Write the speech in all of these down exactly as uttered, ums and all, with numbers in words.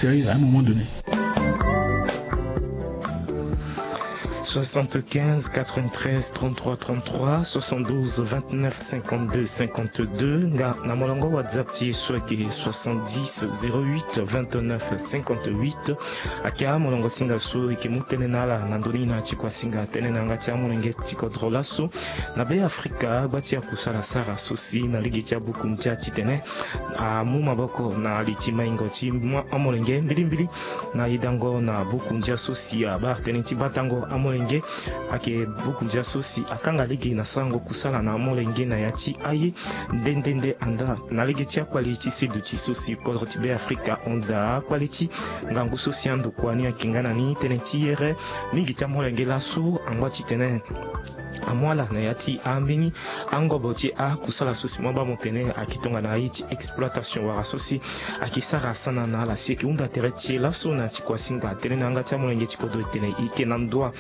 Sérieux, à un moment donné. Soixante-quinze quatre-vingt-treize trente-trois trente-trois, soixante-douze vingt-neuf cinquante-deux cinquante-deux, nga na molongo WhatsApp ti e so ayeke soixante-dix zéro huit vingt-neuf cinquante-huit. Ayeke amolongo singa so e yeke mu tënë na ala na ndö ni na ti kua singa tënë na yanga ti amolenge ti kodro laso. Na Be Afrika, gba ti akusala asara so si na lege ti abuku ndia titene amu maboko na li ti maingo ti amolenge mbilimbili na yedango na buku ndia so si abaa tënë ti batango amolenge. Ayeke buku ndia so si akanga lege na sarango kusala na amolenge na ya ti aye nde nde nde anda na lege ti akpali ti seduti so si kodro ti Be Afrika ahunda akpali ti ngangu so si andokua ni ayeke nga na ni tënë ti here mingi ti amolenge laso angba titene amu ala na ya ti ambeni angobo ti akusala so si mo baa mo tene ayeke tongana aye ti exploitation wala so si ayeke sara sana na ala si ayeke hunda tere ti e laso na ti kuasinga tënë na yanga ti amolenge ti kodro e tene e yeke na ndoa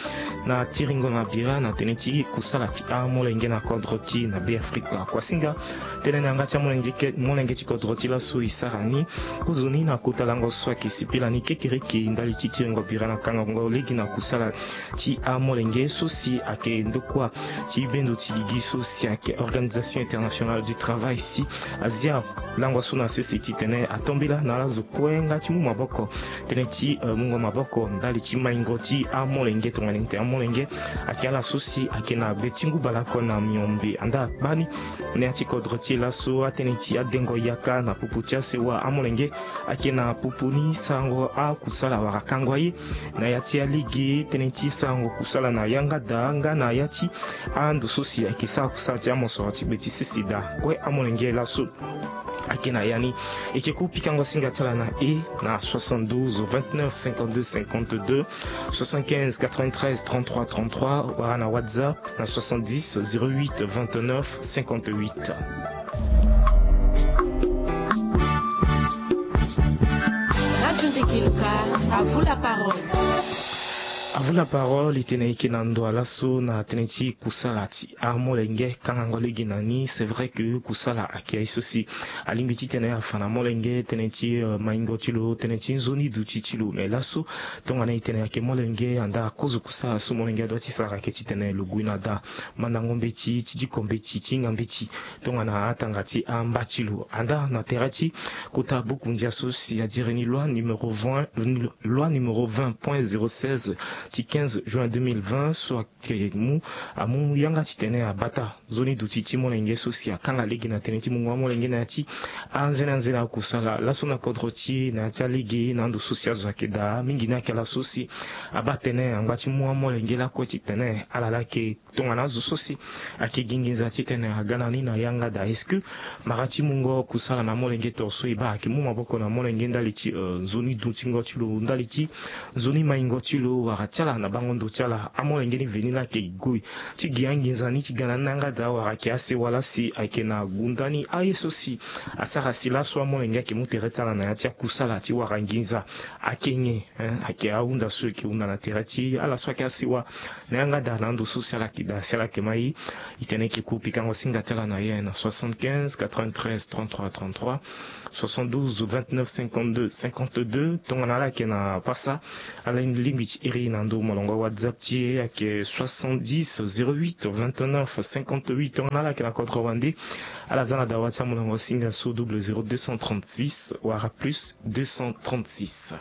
na tiringo na bira na tënë ti kusala ti amolenge na kodro ti e na Be Afrika. Kuasinga tënë na yanga ti amolenge ke- molenge ti kodro ti e laso e sara ni kozoni na kota lango so ayeke sipila ni kekereke ndali ti tiringo bira na kangango lege na kusala ti amolenge so si ayeke ndokua ti bendo ti gigi so si ayeke Organisation Internationale du Travail si azia lango so na sese titene atombela na ala zo kue nga ti mu maboko tënë ti, eh, mungo maboko ndali ti maingo ti amolenge tongana ete amolenge ayeke ala so si ayeke na gbe ti ngu bale oko na miombe anda gbani na ya ti kodro ti e laso atënë ti adengo yaka na popo ti asewa amolenge ayeke na popo ni sarango akusala wala kango aye na ya ti alege tënë ti sarango kusala na yanga daa nga na ya ti ando so si ayeke sara kusala ti amosoro ti gbe ti sese daa kue amolenge laso ayeke na ya ni. E yeke ku pikango singa ti ala na e na soixante-douze vingt-neuf cinquante-deux cinquante-deux, soixante-quinze quatre-vingt-treize trente-trois trente-trois wala na WhatsApp na soixante-dix zéro huit vingt-neuf cinquante-huit. Radio Ndeke Luka, à vous la parole. À vous la parole, e tene e yeke na ndoa laso na tënë ti kusala ti amolenge kangango lege na ni. C'est vrai que kusala ayeke aye so si alingbi titene afa na molenge tënë ti, euh, maingo ti lo, tënë ti nzoni duti ti lo. Mais laso tongana e tene ayeke molenge anda kozo kusala so molenge adoit ti sara ayeke titene lo gue na daa mandango mbeti ti diko mbeti ti hinga mbeti tongana atanga ti amba ti lo anda na tere ti kota buku ndia so si adiri ni loi numéro vingt, loi numéro vingt point zéro seize ti quinze juin deux mille vingt so ayeke mu amu yanga titene abata nzoni duti ti molenge so si akanga lege na tënë ti mungo amolenge na ya ti anzene anzene akusala laso na kodro ti e na ya ti alege na ando so si azo ayeke daa mingi ni ayeke ala so si abaa tënë angba ti mu amolenge lakue titene ala laa ayeke tongana azo so si ayeke gi nginza titene aga na ni na yanga daa. Est-ce que mara ti mungo kusala na amolenge toro so e baa ayeke mu maboko na amolenge ndali ti, euh, nzoni dutingo ti lo ndali ti nzoni maingo ti lo wala ti ala na bango ndo ti ala amolenge ni veni laa ayeke gue ti gi anginza ni ti ga na ni na yanga daa wala ayeke asewa laa si ayeke na gunda ni aye so si asara si laso amolenge ayeke mu tere ti ala na ya ti akusala ti wara nginza. Ayeke nyen? Hein, ayeke ahunda so e yeke hunda na tere ti ala so ayeke asewa na yanga daa na ando so si ala yeke daa si ala yeke ma e. E tene e yeke ku pikango singa ti ala na ye na soixante-quinze quatre-vingt-treize trente-trois trente-trois, soixante-douze vingt-neuf cinquante-deux cinquante-deux. Tongana ala yeke na pasa ala lingbi ti iri na ndo molongo WhatsApp ti e ayeke soixante-dix zéro huit vingt-neuf cinquante-huit. Tongana ala yeke na kodro wande ala za na dawa ti amolongo singa so double zéro deux cent trente-six wala plus deux cent trente-six.